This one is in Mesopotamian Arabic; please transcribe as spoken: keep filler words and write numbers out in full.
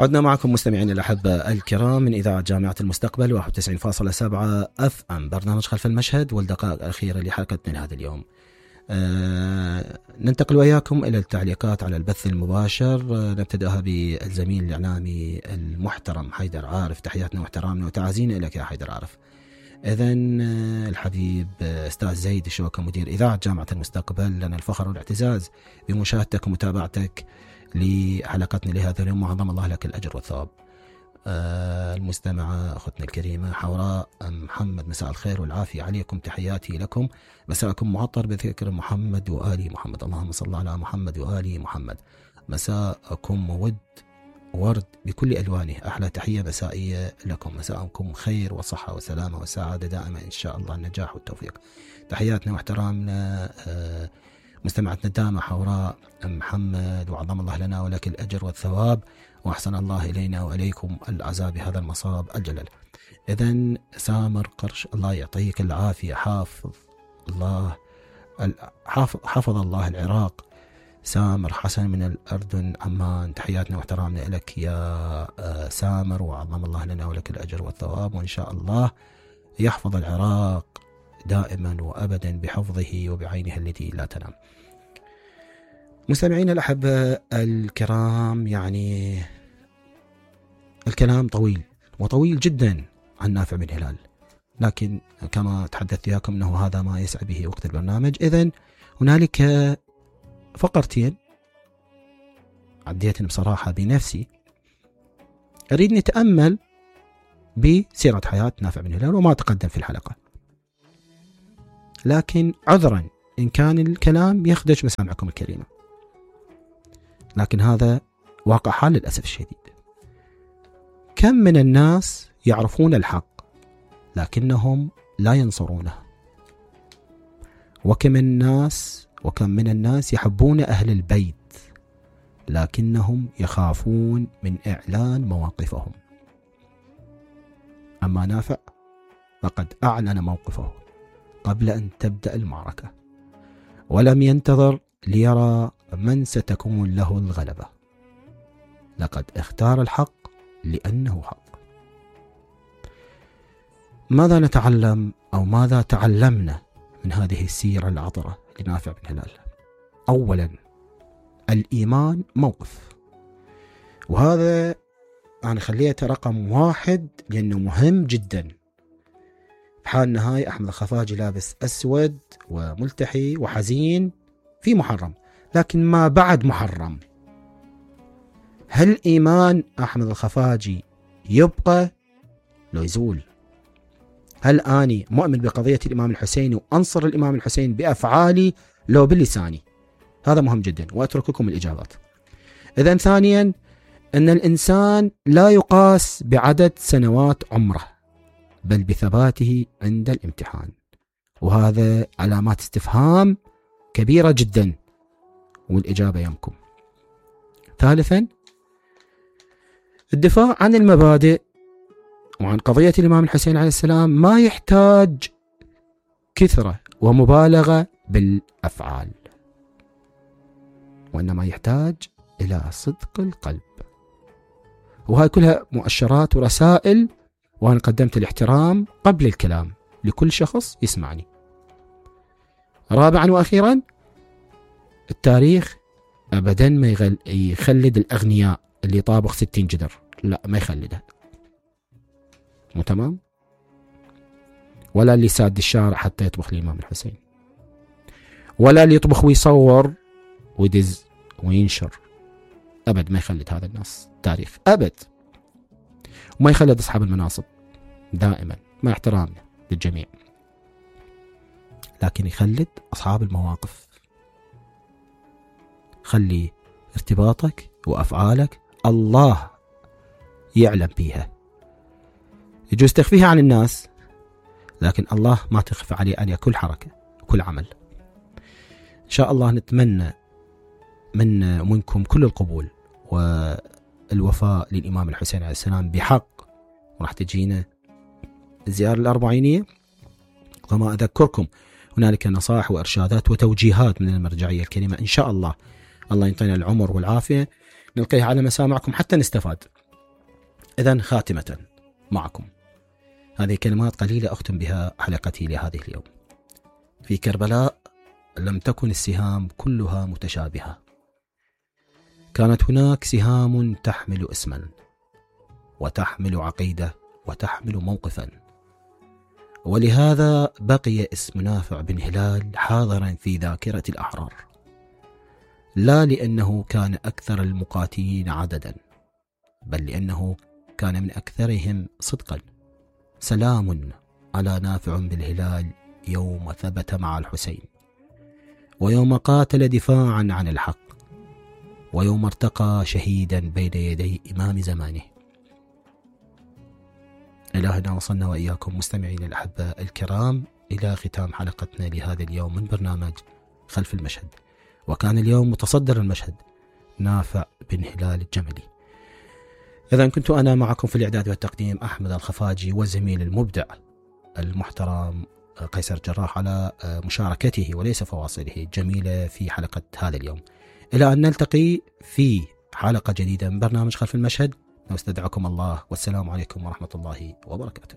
عدنا معكم مستمعين الأحبة الكرام من إذاعة جامعة المستقبل واحد وتسعين فاصلة سبعة أف أم، برنامج خلف المشهد والدقائق الأخيرة لحلقتنا هذا اليوم. أه ننتقل وياكم إلى التعليقات على البث المباشر. أه نبتدأها بالزميل الإعلامي المحترم حيدر عارف. تحياتنا واحترامنا وتعازينا لك يا حيدر عارف. إذن أه الحبيب أستاذ زيد الشوكة مدير إذاعة جامعة المستقبل، لنا الفخر والاعتزاز بمشاهدتك ومتابعتك لحلقتنا لهذا اليوم، وعظم الله لك الأجر والثواب. آه المستمعة أختنا الكريمة حوراء محمد، مساء الخير والعافية عليكم، تحياتي لكم، مساءكم معطر بذكر محمد وآل محمد، اللهم صل على محمد وآل محمد. مساءكم ود ورد بكل ألوانه، أحلى تحية مسائية لكم، مساءكم خير وصحة وسلامة وسعادة دائما إن شاء الله، النجاح والتوفيق. تحياتنا واحترامنا آه مستمعتنا الدامة حوراء محمد، وعظم الله لنا ولك الأجر والثواب، وأحسن الله إلينا وإليكم العذاب بهذا المصاب الجلل. إذن سامر قرش، الله يعطيك العافية، حافظ الله حافظ الله العراق. سامر حسن من الأردن عمان، تحياتنا واحترامنا لك يا سامر، وعظم الله لنا ولك الأجر والثواب، وإن شاء الله يحفظ العراق دائما وأبدا بحفظه وبعينه التي لا تنام. مستمعين الأحبة الكرام، يعني الكلام طويل وطويل جدا عن نافع بن هلال، لكن كما تحدثت وياكم أنه هذا ما يسعى به وقت البرنامج. إذن هنالك فقرتين عديتن بصراحة بنفسي، أريد نتأمل بسيرة حياة نافع بن هلال وما تقدم في الحلقة، لكن عذرا إن كان الكلام يخدش مسامعكم الكريمة، لكن هذا واقع حال للأسف الشديد. كم من الناس يعرفون الحق لكنهم لا ينصرونه، وكم الناس وكم من الناس يحبون أهل البيت لكنهم يخافون من إعلان مواقفهم. أما نافع فقد أعلن موقفه قبل أن تبدأ المعركة، ولم ينتظر ليرى من ستكون له الغلبة، لقد اختار الحق لأنه حق. ماذا نتعلم أو ماذا تعلمنا من هذه السيرة العطرة لنافع بن هلال؟ أولا، الإيمان موقف، وهذا أنا خليته رقم واحد لأنه مهم جدا. بحالنا هاي أحمد الخفاجي لابس أسود وملتحي وحزين في محرم، لكن ما بعد محرم، هل إيمان أحمد الخفاجي يبقى لو يزول؟ هل أني مؤمن بقضية الإمام الحسين وأنصر الإمام الحسين بأفعالي لو بلساني؟ هذا مهم جدا، وأترككم الإجابات. إذن ثانيا، أن الإنسان لا يقاس بعدد سنوات عمره بل بثباته عند الامتحان، وهذا علامات استفهام كبيرة جدا، والإجابة يمكم. ثالثا، الدفاع عن المبادئ وعن قضية الإمام الحسين عليه السلام ما يحتاج كثرة ومبالغة بالأفعال، وإنما يحتاج إلى صدق القلب، وهي كلها مؤشرات ورسائل، وأنا قدمت الاحترام قبل الكلام لكل شخص يسمعني. رابعا وأخيرا، التاريخ أبدا ما يخلد الأغنياء اللي طابخ ستين جدر، لا ما يخلده، مو تمام؟ ولا اللي ساد الشارع حتى يطبخ الإمام الحسين، ولا اللي يطبخ ويصور ويدز وينشر، أبد ما يخلد هذا الناس تاريخ أبد، وما يخلد أصحاب المناصب دائما مع احترامنا للجميع، لكن يخلد أصحاب المواقف. خلي ارتباطك وأفعالك الله يعلم بيها، يجوز تخفيها عن الناس، لكن الله ما تخفى عليه عليه كل حركة وكل عمل. إن شاء الله نتمنى من منكم كل القبول والوفاء للإمام الحسين عليه السلام بحق، وراح تجينا الزيارة الأربعينية، وما أذكركم هنالك نصائح وإرشادات وتوجيهات من المرجعية الكريمة. إن شاء الله الله ينطينا العمر والعافية نلقيها على مسامعكم حتى نستفاد. إذن خاتمة معكم هذه كلمات قليلة أختم بها حلقتي لهذه اليوم. في كربلاء لم تكن السهام كلها متشابهة، كانت هناك سهام تحمل اسما وتحمل عقيدة وتحمل موقفا، ولهذا بقي اسم نافع بن هلال حاضرا في ذاكرة الأحرار، لا لأنه كان أكثر المقاتلين عددا، بل لأنه كان من أكثرهم صدقا. سلام على نافع بن هلال يوم ثبت مع الحسين، ويوم قاتل دفاعا عن الحق، ويوم ارتقى شهيدا بين يدي إمام زمانه. إلهنا وصلنا وإياكم مستمعين الأحبة الكرام إلى ختام حلقتنا لهذا اليوم من برنامج خلف المشهد، وكان اليوم متصدر المشهد نافع بن هلال الجملي. إذا كنت أنا معكم في الإعداد والتقديم أحمد الخفاجي، وزميل المبدع المحترم قيصر جراح على مشاركته وليس فواصله جميلة في حلقة هذا اليوم. إلى أن نلتقي في حلقة جديدة من برنامج خلف المشهد، نستودعكم الله، والسلام عليكم ورحمة الله وبركاته.